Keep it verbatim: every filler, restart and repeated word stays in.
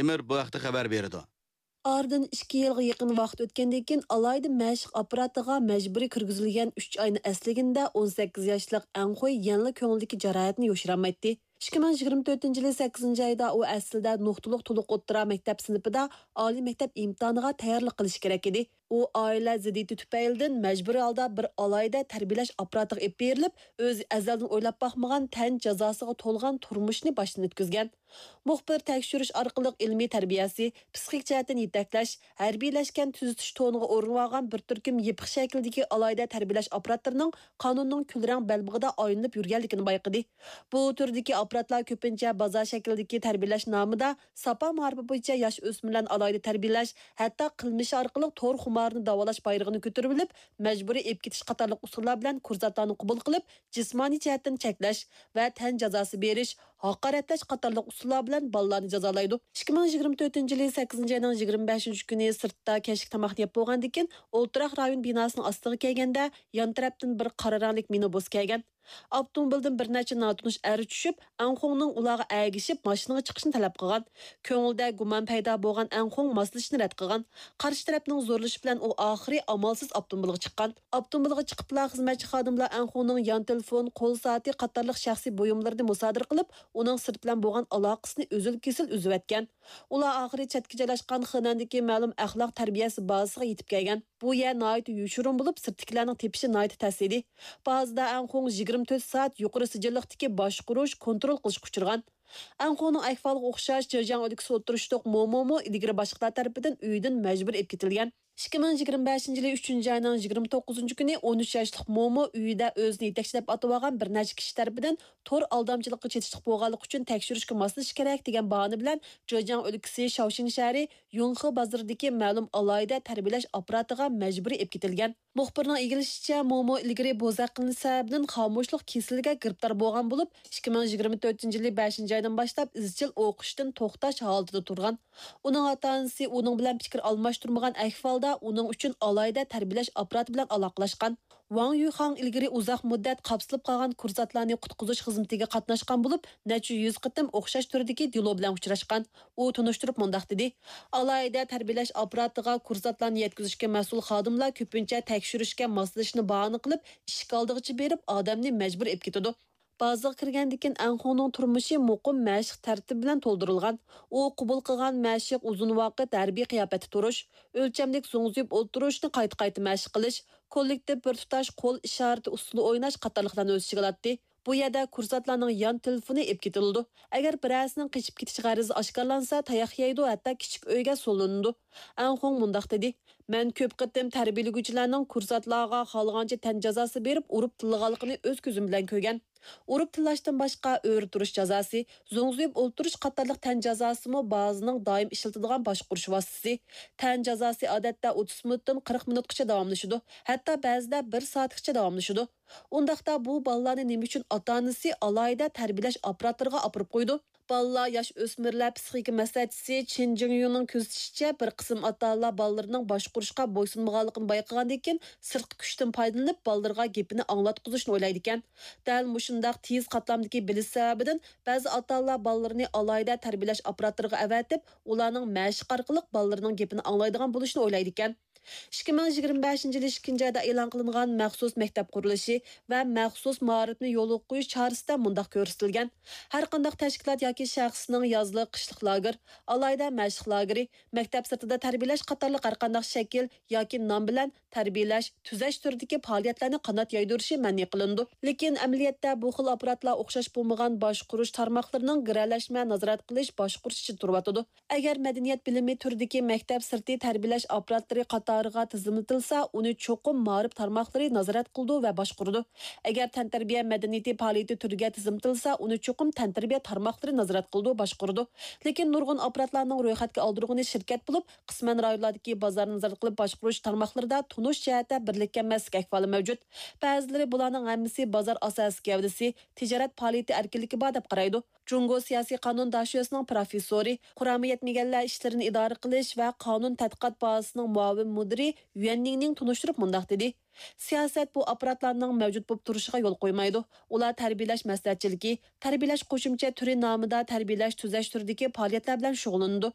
ئىمىر بۇ ھەقتە خەۋەر بېرىدۇ. ئارىدىن ئىككى يىلغا يېقىن ۋاقىت ئۆتكەندىن كېيىن، ئالاھىدە مەشىق ئاپپاراتىغا مەجبۇرىي كىرگۈزۈلگەن ئۈچ ئاينىڭ ئەسلىگىنىدە ئون سەككىز ياشلىق ئەڭ خۇي يەنىلا كۆڭلىدىكى جاراھەتنى يوشۇرالمايتتى. ئىككى مىڭ يىگىرمە تۆتىنچى يىلى سەككىزىنچى ئايدا ئۇ ئەسلىدە نۇقتىلىق تولۇق ئوتتۇرا مەكتەپ سىنىپىدا ئالىي مەكتەپ ئىمتىھانىغا تەييارلىق قىلىشى كېرەك ئىدى. ئۇ ئائىلە زىددىيىتى تۈپەيلىدىن مەجبۇرىي ھالدا بىر ئالاھىدە تەربىيەلەش ئاپپاراتىغا ئېلىپ بېرىلىپ، ئۆزى ئەزەلدىن ئويلاپ باقمىغان تەن جازاسىغا تولغان تۇرمۇشنى باشتىن ئۆتكۈزگەن. مۇخبىر تەكشۈرۈش ئارقىلىق ئىلمىي تەربىيەسى، پىسخىك جەھەتتىن يېتەكلەش، ھەربىيلەشكەن تۈزىتىش تونىغا ئورىنىۋالغان بىر تۈركۈم يېپىق شەكىلدىكى ئالاھىدە تەربىيەلەش ئاپپاراتلىرىنىڭ قانۇننىڭ كۈلرەڭ بەلبېغىدا ئايلىنىپ يۈرگەنلىكىنى بايقىدى. بۇ تۈردىكى ئاپپاراتلار كۆپىنچە بازار شەكلىدىكى تەربىيەلەش نامىدا ساپا مائارىپى بويىچە ياش ئۆسمۈرلەرنى ئالاھىدە تەربىيەلەش، ھەتتا قىلمىشى ئارقىلىق تور خۇمارىنى داۋالاش بايرىقىنى كۆتۈرۈۋېلىپ، مەجبۇرىي ئېلىپ كېتىش قاتارلىق ئۇسۇللار بىلەن كۇرسانتلارنى قوبۇل قىلىپ، جىسمانىي جەھەتتىن چەكلەش ۋە تەن جازاسى بېرىش، ھاقارەتلەش قاتارلىق ئۇسۇللار بىلەن بالىلارنى جازالايدۇ. ئىككى مىڭ يىگىرمە تۆتىنچى يىلى سەككىزىنچى ئاينىڭ يىگىرمە بەشىنچى كۈنى سىرتتا كەچلىك تاماقنى يەپ بولغاندىن كېيىن، ئولتۇراق رايون بىناسىنىڭ ئاستىغا كەلگەندە، يان تەرەپتىن بىر قارا رەڭلىك مىنىبۇس كەلگەن. ئاپتوموبىلدىن بىر نەچچە ناتونۇش ئەر چۈشۈپ، ئەنخۇڭنىڭ ئۇلارغا ئەگىشىپ ماشىنىغا چىقىشىنى تەلەپ قىلغان. كۆڭلىدە گۇمان پەيدا بولغان ئەنخۇڭ ماسلىشىشنى رەت قىلغان. قارشى تەرەپنىڭ زورلىشى بىلەن ئۇ ئاخىرى ئامالسىز ئاپتوموبىلغا چىققان. ئاپتوموبىلغا چىقىپلا خىزمەتچى خادىملار ئەنخۇڭنىڭ يان تېلېفون، قول سائىتى قاتارلىق شەخسىي بۇيۇملىرىنى مۇسادىرە قىلىپ، ئۇنىڭ سىرت بىلەن بولغان ئالاقىسىنى ئۈزۈل-كېسىل ئۈزۈۋەتكەن. ئۇلار ئاخىرى چەتكە جايلاشقان خېنەندىكى مەلۇم ئەخلاق تەربىيەسى بازىسىغا يېتىپ كەلگەن. بۇ يەر ناھايىتى يوشۇرۇن بولۇپ، سىرتتىكىلەرنىڭ تېپىشى ناھايىتى تەس ئىدى. بازىدا ئەنخۇڭ يىگىرمە تۆت سائەت يۇقىرى سىجىللىقتىكى باشقۇرۇش، كونترول قىلىشقا ئۇچرىغان. ئەنخۇڭنىڭ ئەھۋالىغا ئوخشاش، جېجياڭ ئۆلكىسى ئوتتۇرا شتوك مومومۇ ئىلگىرى باشلىقلار تەرىپىدىن ئۆيىدىن مەجبۇرىي ئېلىپ كېتىلگەن. ئىككى مىڭ يىگىرمە بەشىنچى يىلى ئۈچىنچى ئاينىڭ يىگىرمە توققۇزىنچى كۈنى ئون ئۈچ ياشلىق مومو ئۆيىدە ئۆزىنى يېتەكچى دەپ ئاتىۋالغان بىر نەچچە كىشى تەرىپىدىن تور ئالدامچىلىققا چېتىشلىق بولغانلىقى ئۈچۈن تەكشۈرۈشكە ماسلىشىش كېرەك دېگەن باھانە بىلەن جېجياڭ ئۆلكىسى شاۋشىن شەھىرى يۇڭخې بازىرىدىكى مەلۇم ئالاھىدە تەربىيەلەش ئاپپاراتىغا مەجبۇرىي ئېلىپ كېتىلگەن. مۇخبىرنىڭ ئىگىلىشىچە، مومو ئىلگىرى بوزەك قىلىنىش سەۋەبىدىن خامۇشلۇق كېسىلىگە گىرىپتار بولغان بولۇپ، ئىككى مىڭ يىگىرمە تۆتىنچى يىلى بەشىنچى ئايدىن باشلاپ ئىزچىل ئوقۇشتىن توختاش ھالىتىدە تۇرغان. ئۇنىڭ ئاتا-ئانىسى ئۇنىڭ بىلەن پىكىر ئالماشتۇرمىغان ئەھۋالدا ئۇنىڭ ئۈچۈن ئالاھىدە تەربىيەلەش ئاپپاراتى بىلەن ئالاقىلاشقان. ۋاڭ يۈخاڭ ئىلگىرى ئۇزاق مۇددەت قاپسىلىپ قالغان كۇرسانتلارنى قۇتقۇزۇش خىزمىتىگە قاتناشقان بولۇپ، نەچچە يۈز قېتىم ئوخشاش تۈردىكى دېلو بىلەن ئۇچراشقان. ئۇ تونۇشتۇرۇپ مۇنداق دېدى: ئالاھىدە تەربىيەلەش ئاپپاراتىغا كۇرسانتلارنى يەتكۈزۈشكە مەسئۇل خادىملار كۆپىنچە تەكشۈرۈشكە ماسلىشىشنى باھانە قىلىپ، ئىشىك ئالدىغىچە بېرىپ، ئادەمنى مەجبۇر ئېلىپ كېتىدۇ. بازىغا كىرگەندىن كېيىن ئەنخۇڭنىڭ تۇرمۇشى مۇقىم مەشىق تەرتىپى بىلەن تولدۇرۇلغان. ئۇ قوبۇل قىلغان مەشىق ئۇزۇن ۋاقىت ھەربىي قىياپەتتە تۇرۇش، ئۆلچەملىك زوڭزىيىپ ئولتۇرۇشنى قايتا-قايتا مەشىق قىلىش، كوللېكتىپ بىر تۇتاش قول ئىشارىتى ئۇسسۇلى ئويناش قاتارلىقلارنى ئۆز ئىچىگە ئالاتتى. بۇ يەردە كۇرسانتلارنىڭ يان تېلېفونى ئېلىپ كېتىلىدۇ. ئەگەر بىرەرسىنىڭ قېچىپ كېتىش غەرىزى ئاشكارىلانسا، تاياق يەيدۇ، ھەتتا كىچىك ئۆيگە سولىنىدۇ. ئەنخۇڭ مۇنداق دېدى: مەن كۆپ قېتىم تەربىيەلىگۈچىلەرنىڭ كۇرسانتلارغا خالىغانچە تەن جازاسى بېرىپ، ئۇرۇپ تىللىغانلىقىنى ئۆز كۆزۈم بىلەن كۆرگەن. ئۇرۇپ تىللاشتىن باشقا، ئۆرە تۇرۇش جازاسى، زوڭزىيىپ ئولتۇرۇش قاتارلىق تەن جازاسىمۇ بازىنىڭ دائىم ئىشلىتىدىغان باشقۇرۇش ۋاسىتىسى. تەن جازاسى ئادەتتە ئوتتۇز مىنۇتتىن قىرىق مىنۇتقىچە داۋاملىشىدۇ، ھەتتا بەزىدە بىر سائەتكىچە داۋاملىشىدۇ. ئۇنداقتا بۇ بالىلارنى نېمە ئۈچۈن ئاتا-ئانىسى ئالاھىدە تەربىيەلەش ئاپپاراتلىرىغا ئاپىرىپ قويىدۇ؟ بالىلار، ياش ئۆسمۈرلەر پسىخىكا مەسلىھەتچىسى چېن جىڭيۇنىڭ كۆزىتىشىچە، بىر قىسىم ئاتا-ئانىلار بالىلىرىنىڭ باشقۇرۇشقا بويسۇنمىغانلىقىنى بايقىغاندىن كېيىن، سىرتقى كۈچتىن پايدىلىنىپ، بالىلىرىغا گېپىنى ئاڭلاتقۇزۇشنى ئويلايدىكەن. دەل مۇشۇنداق تېز قاتلامدىكى بىلىش سەۋەبىدىن، بەزى ئاتا-ئانىلار بالىلىرىنى ئالاھىدە تەربىيەلەش ئاپپاراتلىرىغا ئەۋەتىپ، ئۇلارنىڭ مەشىق ئارقىلىق بالىلىرىنىڭ گېپىنى ئاڭلايدىغان بولۇشنى ئويلايدىكەن. ئىككى مىڭ يىگىرمە بەشىنچى يىلى ئىككىنچى ئايدا ئېلان قىلىنغان مەخسۇس مەكتەپ قۇرۇلۇشى ۋە مەخسۇس مائارىپنى يولغا قويۇش چارىسىدە مۇنداق كۆرسىتىلگەن: ھەرقانداق تەشكىلات ياكى شەخسنىڭ يازلىق، قىشلىق لاگېر، ئالاھىدە مەشىق لاگېرى، مەكتەپ سىرتىدا تەربىيەلەش قاتارلىق ھەرقانداق شەكىل ياكى نام بىلەن تەربىيەلەش، تۈزەش تۈرىدىكى پائالىيەتلەرنى قانات يايدۇرۇشى مەنئى قىلىنىدۇ. لېكىن ئەمەلىيەتتە بۇ خىل ئاپپاراتلار ئوخشاش بولمىغان باشقۇرۇش تارماقلىرىنىڭ گىرەلەشمە نازارەت قىلىش، باشقۇرۇش ئىچىدە تۇرۇۋاتىدۇ. ئەگەر مەدەنىيەت بىلىمى تۈرىدىكى مەكتەپ سىرتى تەربىيەلەش ئاپپاراتلىرى قاتارىغا تىزىملىتىلسا، ئۇنى چوقۇم مائارىپ تارماقلىرى نازارەت قىلىدۇ ۋە باشقۇرىدۇ. ئەگەر تەنتەربىيە مەدەنىيىتى پائالىيىتى تۈرىگە تىزىملىتىلسا، ئۇنى چوقۇم تەنتەربىيە تارماقلىرى نازارەت قىلىدۇ، باشقۇرىدۇ. لېكىن نۇرغۇن ئاپپاراتلارنىڭ رويخەتكە ئالدۇرغىنى شىركەت بولۇپ، قىسمەن رايونلاردىكى بازارنى نازارەت قىلىپ باشقۇرۇش تارماقلىرىدا تونۇش جەھەتتە بىرلىككە ئەمەسلىك ئەھۋالى مەۋجۇت. بەزىلىرى بۇلارنىڭ ھەممىسى بازار ئاساسىي گەۋدىسى، تىجارەت پائالىيىتى ئەركىنلىكى بار دەپ قارايدۇ. جۇڭگو سىياسىي قانۇن داشۆسىنىڭ پىروفېسسورى، قۇرامى يەتمىگەنلەر ئىشلىرىنى ئىدارە قىلىش ۋە قانۇن تەتقىقات بازىسىنىڭ مۇئاۋىن مۇدىرى يۈەن نىڭنىڭ تونۇشتۇرۇپ مۇنداق دېدى: سىياسەت بۇ ئاپپاراتلارنىڭ مەۋجۇت بولۇپ تۇرۇشىغا يول قويمايدۇ. ئۇلار تەربىيەلەش مەسلىھەتچىلىكى، تەربىيەلەش قوشۇمچە تۈرى نامىدا تەربىيەلەش تۈزەش تۈرىدىكى پائالىيەتلەر بىلەن شۇغۇللىنىدۇ.